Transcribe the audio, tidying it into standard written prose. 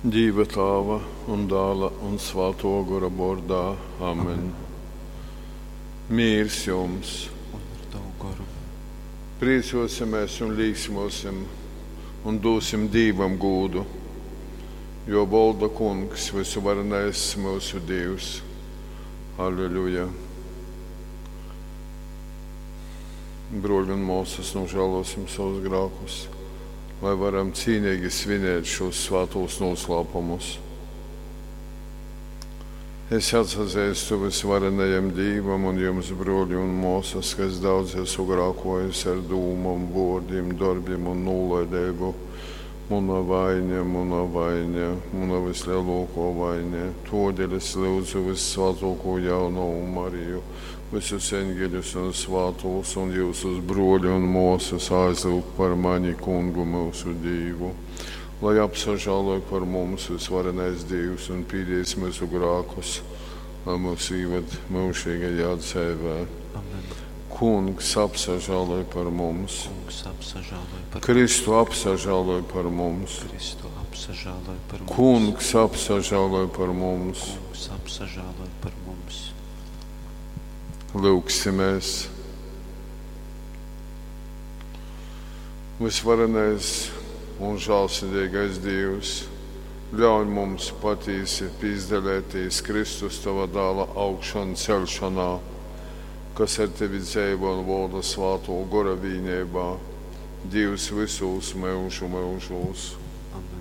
Dīva Tāva un Dāla un Svātō Gora vōrdā. Amen. Mīrs jums! Un ar tavu goru. Priecōsimies un līksmosim un dūsim Dīvam gūdu, jo volda Kungs, vysuvarenais myusu Dīvs. Alleluja! Bruoļi un māsas, nožēlosim savus grēkus, lai varam cīnīgi svinēt šos svātos noslēpumus. Es atsazīstu vysvarenajam Dīvam un jums, bruoļi un māsas, ka es daudz esmu grēkojis ar dūmom, vārdiem, darbiem un nolaidību. Muna vaine, muna vaine, muna vislielākā vaine. Todēļ es lūdzu vissvētāko jaunavu Mariju, visus eņģeļus un svātos un jūsus bruoļi un māsas aizlūgt par mani kungu mūsu Dīvu. Lai apsažāloj par mums visvarenais Dīvs un pīdies mūsu grēkus, lai mūs īved mūžīgajā dzīvē. Amen. Kungs apsažāloj par mums. Kungs apsažāloj par mums. Kristu apsažāloj par mums. Kristu apsažāloj par mums. Kungs apsažāloj par mums. Kungs apsažāloj par mums. Lūgsimies. Visvarenais un žēlsirdīgais Dievs, ļauj mums patīsi pīzdalēties Kristus tava dāla augšanu celšanā, kas ar tevi dzīvo un valda svāto gora vīnībā, Dievs visos mūžu mūžos. Amen.